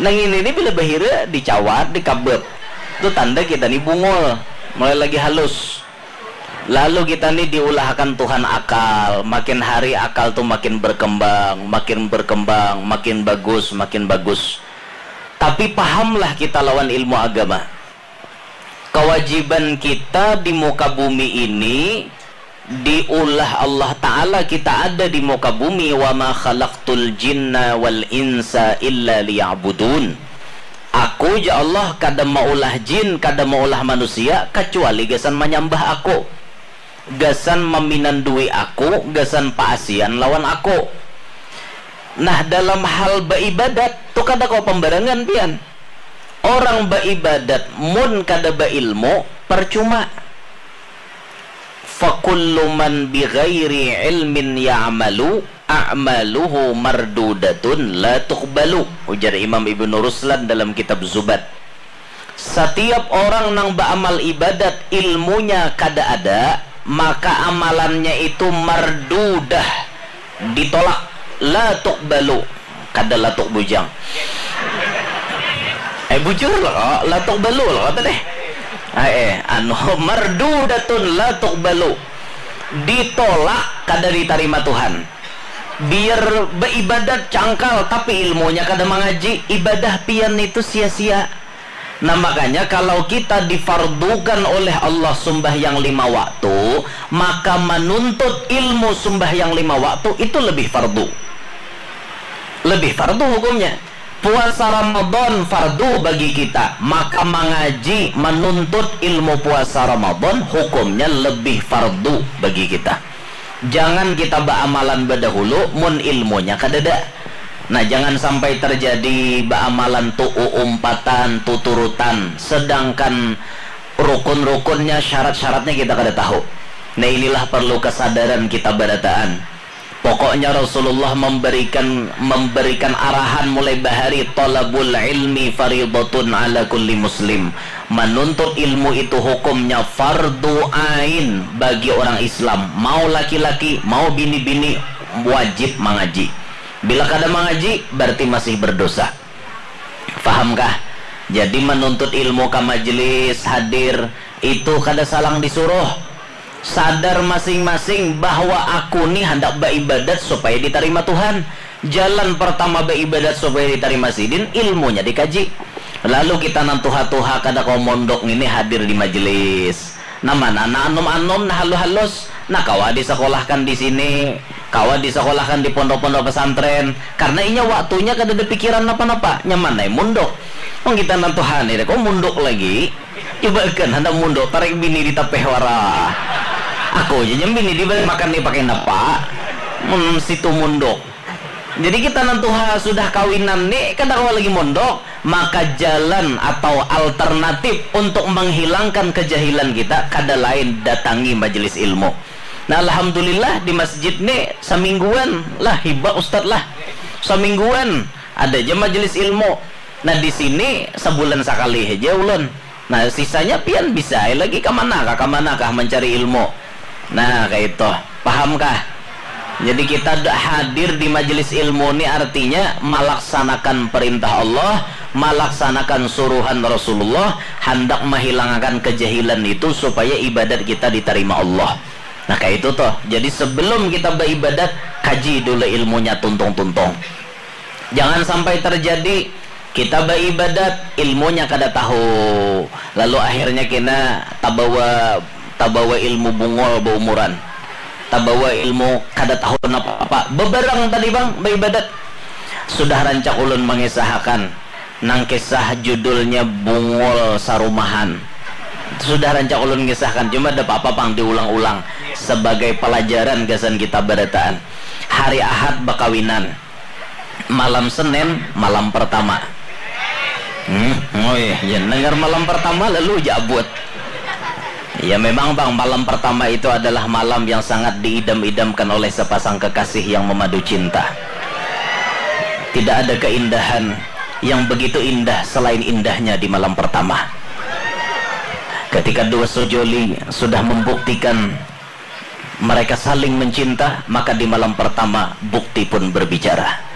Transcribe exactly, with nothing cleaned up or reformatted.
Nang ini ni bila bahira dicawat, dikabep. Tu tanda kita ni bungul, mulai lagi halus. Lalu kita ni diulahakan Tuhan akal, makin hari akal tu makin berkembang, makin berkembang, makin bagus, makin bagus. Tapi pahamlah kita lawan ilmu agama. Kewajiban kita di muka bumi ini diulah Allah Ta'ala kita ada di muka bumi, wa ma khalaqtul jinna wal insa illa liya'budun. Aku ja Allah kada maulah jin, kada maulah manusia, kacuali gasan manyambah aku, gasan maminandui aku, gasan paasian lawan aku. Nah, dalam hal baibadat tu kada kawa pambarangan pian. Orang baibadat mun kada bailmu, percuma. Fakullu man bighairi ilmin ya'malu a'maluhu mardudatun la tuqbalu, ujar Imam Ibnu Ruslan dalam kitab Zubad. Satiap orang nang baamal ibadat ilmunya kada ada, maka amalannya itu mardudah, ditolak, la tuqbalu, kada latuk bujang. Eh, bujur lo, la tuqbalu lo kata deh. Eh, eh, anu, mardudatun la tuqbalu, ditolak, kada ditarima Tuhan. Biar baibadat cangkal tapi ilmunya kada mangaji, ibadah pian itu sia-sia. Nah, makanya kalau kita difardukan oleh Allah sumbahyang lima waktu, maka manuntut ilmu sumbahyang lima waktu itu lebih fardu. Lebih fardu hukumnya. Puasa Ramadan fardu bagi kita, maka mangaji, manuntut ilmu puasa Ramadan hukumnya lebih fardu bagi kita. Jangan kita baamalan badahulu mun ilmunya kadada. Nah, jangan sampai terjadi baamalan tu uumpatan, tuturutan, sedangkan rukun-rukunnya, syarat-syaratnya kita kada tahu. Nah, inilah perlu kesadaran kita barataan. Pokoknya Rasulullah memberikan memberikan arahan mulai bahari, talabul ilmi faridatun ala kulli muslim. Manuntut ilmu itu hukumnya fardu ain bagi orang Islam. Mau laki-laki, mau bini-bini, wajib mangaji. Bila kada mangaji, berarti masih berdosa. Fahamkah? Jadi manuntut ilmu ka majelis, hadir, itu kada salang disuruh. Sadar masing-masing bahwa aku ni handak baibadat supaya ditarima Tuhan. Jalan pertama baibadat supaya ditarima Sidin, ilmunya dikaji. Lalu kita nang tuha-tuha kada kawa mondok ngini hadir di majelis. Nah, mana nang anum-anum, nang halus-halus, nah kawa disekolahkan di sini, kawa disekolahkan di pondok-pondok pesantren. Karena inya waktunya kadada pikiran napa-napa, nyaman ai munduk. Wong kita nang tuha ni, kok munduk lagi? Coba kan, handak munduk, tarik bini di tapeh wara. Aku aja nyam bini dibari makan ni pakai napa? Hmm, situ munduk. Jadi kita nang tuha sudah kawinan ni, kada kawa lagi mondok, maka jalan atau alternatif untuk menghilangkan kejahilan kita kada lain datangi majelis ilmu. Nah, alhamdulillah di masjid ni samingguan lah, hibak ustad lah. Samingguan ada aja majelis ilmu. Nah, di sini sabulan sakali haja ulun. Nah, sisanya pian bisa ai lagi ka mana kah, ka mana kah mancari ilmu. Nah, kaitu. Paham kah? Jadi kita hadir di majelis ilmu ni artinya malaksanakan perintah Allah, malaksanakan suruhan Rasulullah, handak mahilangakan kejahilan itu supaya ibadat kita ditarima Allah. Nah, kaitu tuh. Jadi sebelum kita baibadat, kaji dulu ilmunya tuntung-tuntung. Jangan sampai terjadi kita baibadat, ilmunya kada tahu, lalu akhirnya kena tabawa tabawa ilmu bungul baumuran, tabawa ilmu kada tahu napa-apa. Beberang tadi bang baibadat, sudah rancak ulun mengisahakan nang kisah judulnya Bungul Sarumahan. Sudah rancak ulun ngisahkan, cuma ada apa-apa pang diulang-ulang sebagai pelajaran gasan kita barataan. Hari Ahad bakawinan. Malam Senin, malam pertama. Hmm, oh iya, ya, dengar malam pertama lalu jabut. Ya memang bang, malam pertama itu adalah malam yang sangat diidam-idamkan oleh sepasang kekasih yang memadu cinta. Tidak ada keindahan yang begitu indah selain indahnya di malam pertama. Ketika dua sejoli sudah membuktikan mereka saling mencinta, maka di malam pertama bukti pun berbicara.